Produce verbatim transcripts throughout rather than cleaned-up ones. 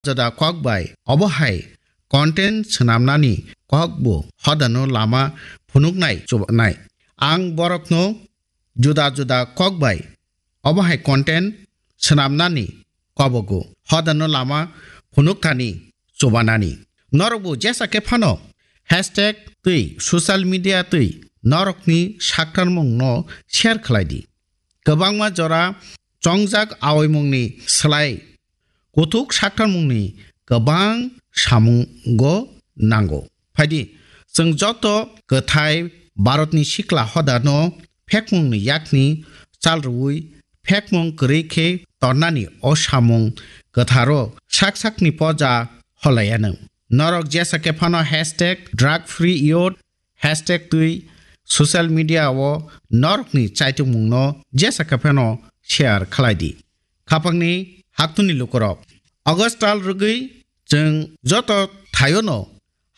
juda kok bai obo hai content swnamnani kok bo hodano lama phunuknai chubanai. Ang borokno juda juda kok bai obo hai content swnamnani kobogo hodano lama phunukthani chubanani. Norokbo jesa khe phano hashtag twi social media twi norokni saktarmungno share khlai di. Kwbangma jora chongjak aoimungni slai kuthuk saktarmungni kwbang samungo nango. Phaidi, chwng joto kwthai Bharatni sikla hodano phekmungni yakni chal rwui phekmung kwrwi khe tornani o samung kwtharo sak sakni poja holaiyano. Norok jesa khe phano hashtag drug free youth, hashtag twi social media o norokni chaitokmungno jesa khe phano share khlai di. Khapangni haktuni lukurok, August tal rwgwi chwng joto thaiono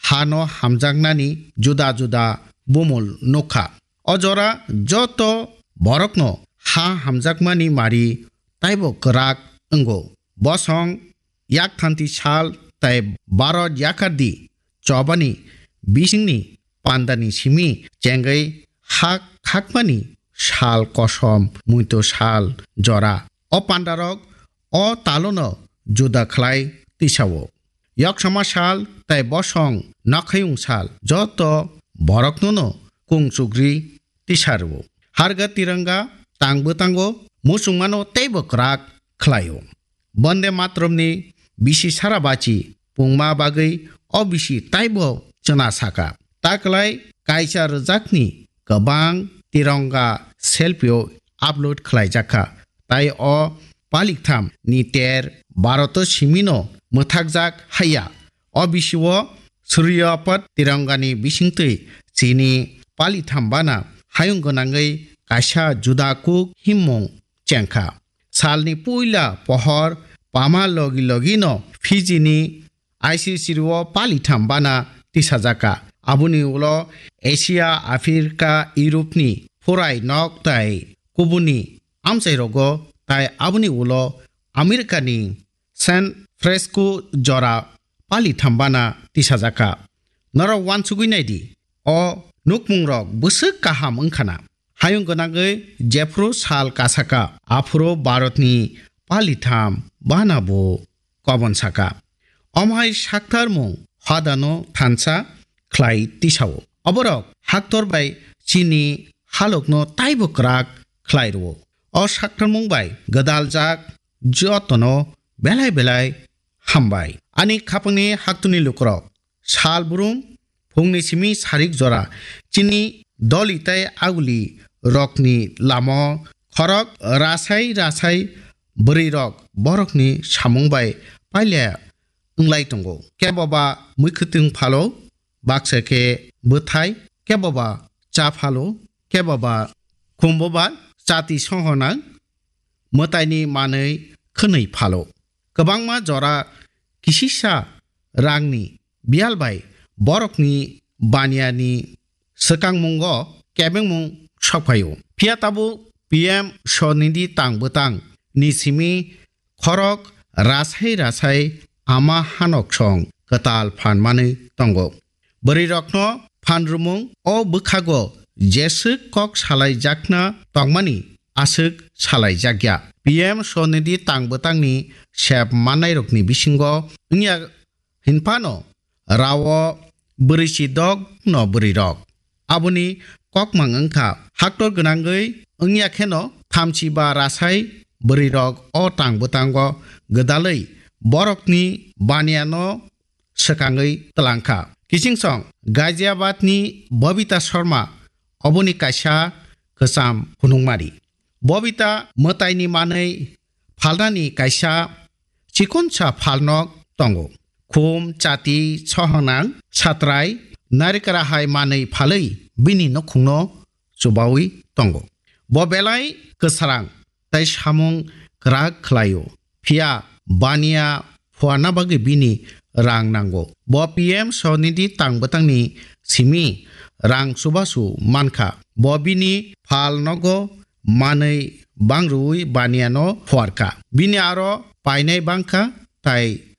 hano hamjaknani juda juda bumul nukha. O jora joto borokno ha hamjakmani mari taibo kwrak wngo. Bosong yakthanti sal tai Bharat yakardi chobani bisingni pandani simi chengwi ha khakmani sal kosom muito sal jora. O pandarok o talono juda khlai tisao. Yoksama sal tai bosong nokhayung sal joto boroknono kung chugri tisarwo. Harga tiranga tangbo tango, muchungmano teibo kwrak khlaio. Bonde Matramni bisi sara bachi pungma bagwi o bisi taibo chwna saka. Taklai kaisa rwjakni kwbang tiranga selfie-o upload khlaijakha. Tai o paliktham ni ter Bharat simino mwthakjak haiya. O bisio Suryapat tirangani bisingtwi chini palitham bana hayung gwnangwi kaisa juda kuk himmung chengkha. Salni puila pohor pama logi logino Fiji ni I C C o palitham bana tisajaka. Aboni ulo Asia, Africa, Europe ni phurai nok tai kubuni amchairogo tai aboni ulo America ni San Francisco jora palitham bana tisajaka. Norok wansugwi naidi, o nukmungrok bwswk kaham wngkhana. Hayung gwnangwi jephru sal kasaka, aphuru Bharatni palitham bana bo kobon saka. Omhai saktarmung hodano thansa khlai tisao. Oborok haktor bai chini halokno taibo kwrak khlai rwo. O saktarmung bai gwdaljak jotono belai belai hambai. Ani khapangni haktuni lukurok, sal brum phungni simi sarik jora chini doli tai aguli rokni lamo khorok rasai rasai bwrwi rok borokni samung bai pailya wnglai tongo. Keboba mwkhwtwng phalo, baksa khe bwthai, keboba cha phalo, keboba khumboba chati sohonang mwtaini manwi khwnwi phalo. Kwbangma jora kisisa rangni biyal bai borokni baniani swkangmungo kebengmung sokphaio. Phiya tabuk P M Swnidhi tang bwtang ni simi khorok rasai rasai ama hanoksong kwtal phan manwi tongo. Bwrwirokno phan rwmung o bwkhago jeswk kok salaijakna tongmani aswk salaijakya. P M Swnidhi tang bwtangni sep mannairokni bisingo wngya hinphano rao bwrwi si dok no bwrwi rok. Aboni kokmang wngkha haktor gwnangwi wngya kheno thamchi ba rasai bwrwi rok o tang bwtango gwdalwi borokni baniano swkangwi twlangkha. Kichingsong Ghaziabad ni Bobita Sharma oboni kaisa kwcham phunukmari. Bobita mwtaini manwi phalnani kaisa chikonsa phalnok tongo. Khum, chati, sohonang, satrai, narikra hai manwi phalwi bini nukhungno chubawi tongo. Bo belai kwsarang tai samung kwrak khlaio. Phiya baniya phuarna bagwi bini rang nango. Bo P M Swnidhi tang bwtangni simi rang chubachu mankha. Bo bini phalnogo manwi bangrwi baniano phuarkha. Bini aro painai bangkha tai